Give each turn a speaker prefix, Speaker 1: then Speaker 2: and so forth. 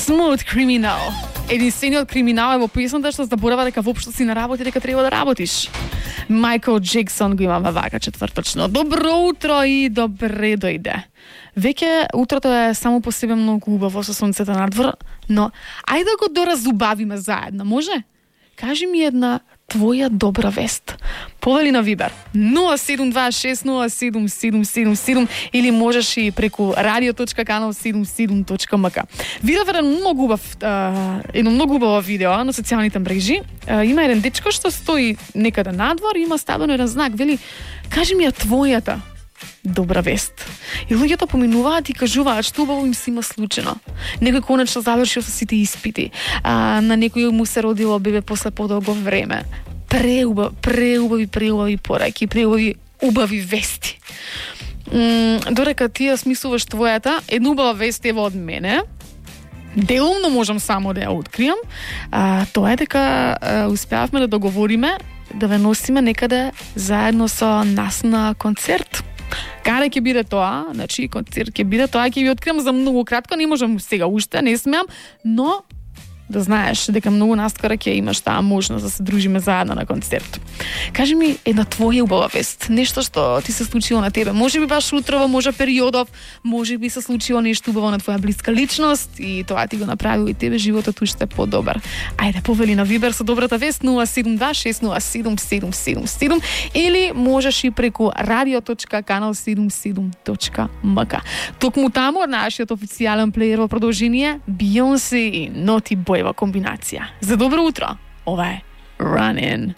Speaker 1: Smooth Criminal. Единствениот криминал е во песната што заборава дека воопшто си на работа дека треба да работиш. Майкл Джексон го имаме вака четврточно. Добро утро и добре дојде. Веќе утрото е само по себе многу убаво со сонцето надвор, но ајде да го доразубавиме заедно, може? Кажи ми една твоја добра вест. Повели на Вибер 072607777 или можеш и преку radio.canal77.mk. Видов едно многу убаво видео на социјалните мрежи. Има еден дечко што стои некаде надвор и има ставено еден знак, вели кажи ми ја твојата добра вест. И луѓето поминуваат и кажуваат што убаво им се има случено. Некој конечно завршил со сите испити. На некој му се родило бебе после подолго време. Преубави пораки, убави вести. Дорека ти ја смислуваш твојата, една убава вест ева од мене. Делумно можам само да ја откријам. Тоа е дека успеавме да договориме да ве носиме некаде заедно со нас на концерт. Каде ќе биде тоа? Значи, концерт ќе биде тоа, ќе ви откриам за многу кратко, не можам сега уште, не смеам, но да знаеш дека многу наскоро ќе имаш таа можност да се дружиме заедно на концерт. Кажи ми една твоја убава вест, нешто што ти се случило на тебе. Може би баш утрово, може периодов, може би се случило нешто убаво на твоја блиска личност и тоа ти го направило и тебе животот уште подобар. Ајде, повели на Вибер со добрата вест 072607777 или можеш и преку radio.canal77.mk. Токму таму од нашиот официјален плеер во продолжение Beyoncé и Naughty Boy во комбинација. За добро утро, ова е Running.